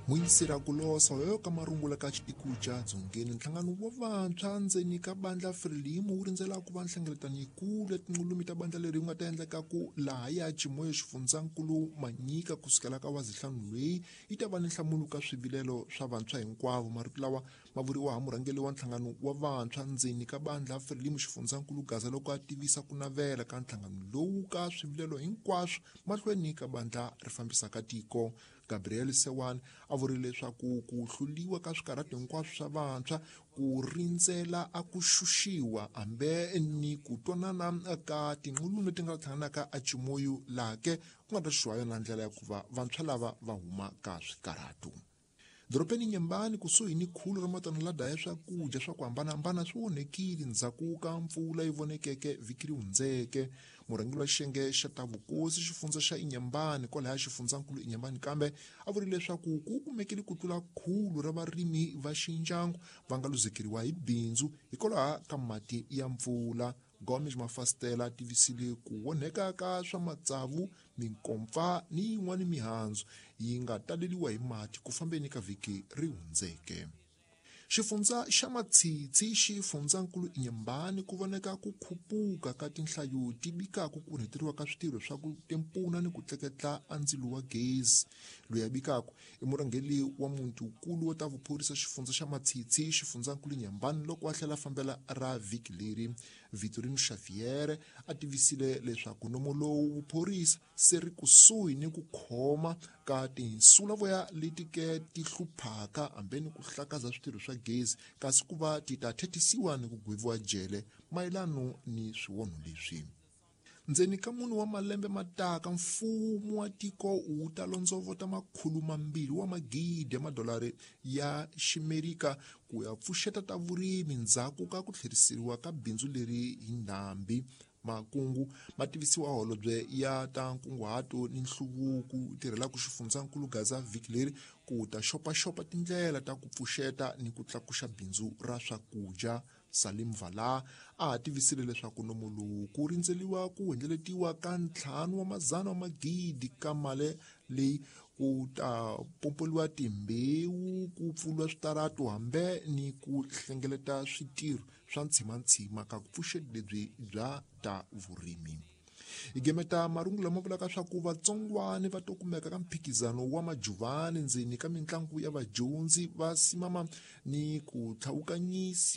Muyisira kulosa yoyo ka marungula ka xitikuca dzongeni. Nhlangano wa vantshwa ndzeni ka bandla Frelimo wu rindzela ku va nhlengeletano yikulu ya tinqulumi ta bandla leri wu nga ta endleka ku laha ya Chimoio xifundzankulu Manyika kusukela ka wazihlanu loyi yi ta va ni nhlamulo ka swivilelo swa vantshwa hinkwavo. Marito lawa ma vuriwa ha murhangeri wa nhlangano wa vantshwa ndzeni ka bandla Frelimo xifundzankulu Gaza loko a tivisa ku navela ka nhlangano lowu ka swivilelo hinkwaswo mahlweni ka bandla ri fambisaka tiko. Gabriel Sewan a vurile leswaku ku hluliwa ka swikarhato hinkwaswo swa vantshwa ku rindzela a ku xuxiwa hambe ni ku twanana ka tinqulumi leti nga hlanganaka a Chimoio laha ke ku nga ta xuxiwa yona ndlela ya ku va vantshwa lava va huma ka swikarhato. Dorobeni Nyembani kusuhi ni khulu ra matano la daya swakudya swa ku hambanahambana swi onhekile ndzhaku ka mpfula yi vonekeke vhiki ri hundzeke. Murhangeri wa xiyenge xa ta vukosi xifundza xa Inyembani kwalaya xifundzankulu Inyembani kambe a vurile leswaku ku kumekile ku tlula khulu ra varimi va xindyangu va nga luzekeriwa hi bindzu hikwalaho ka mati ya mpfula. Gomes Mafastela tivisile ku onheka ka swa matsavu, minkompfa ni yin'wana mihandzu yi nga taleliwa hi mati ku fambeni ka vhiki ri hundzeke. Xifundza xa Matshitshi xifundzankulu Inyembani ku voneka ku khupuka ka tinhlayo ti bikaka ku onheteriwa ka switirho swa ku tempuna ni ku tleketla a ndzilo wa gezi. Loyi a bikaka i murhangeri wa muti-nkulu wa ta vuphorisa xifundza xa Matshitshi xifundzankulu Inyembani loko a tlhela fambela ra vhiki leri. Vitorino Xavier a tivisile leswaku nomo lowu vuphorisa se ri kusuhi ni ku khoma ka tinsulavoya leti ke ti hluphaka hambe ni ku hlakaza switirho swa gezi kasi ku va ti ta thethisiwa ni ku gweviwa jele mayelano ni swiwonho leswi. Ndzeni ka mune wa malembe mataka mfumo wa tiko wu ta londzovota 200 wa magidi ya madolari ya ximerika ku ya pfuxeta ta vurimi ndzhaku ka ku tlheriseriwa ka bindzu leri hi ndhambi. Makungu ma tivisiwa holobye ya ta nkunguhato ni nhluvuko tirhelaka xifundzankulu Gaza vhiki leri ku ta xopaxopa tindlela ta ku pfuxeta ni ku tlakuxa bindzu ra swakudya. Salim Vala a ha tivisile leswaku nomo lowu ku rindzeliwa ku hundzeletiwa ka 5 wa madzana wa magidi ka mali leyi ku ta pompoliwa timbewu, ku pfuriwa switarato hambe ni ku hlengeleta switirho swa ntshimantshima ka ku pfuxeti lebyi bya ta vurimi. Hi gemeta marungulo lama vulaka swa ku vatsongwani va to kumeka ka mphikizano wa majuvani ndzeni ka mitlangu ya vadyondzi va simama ni ku tlhawukanyisi.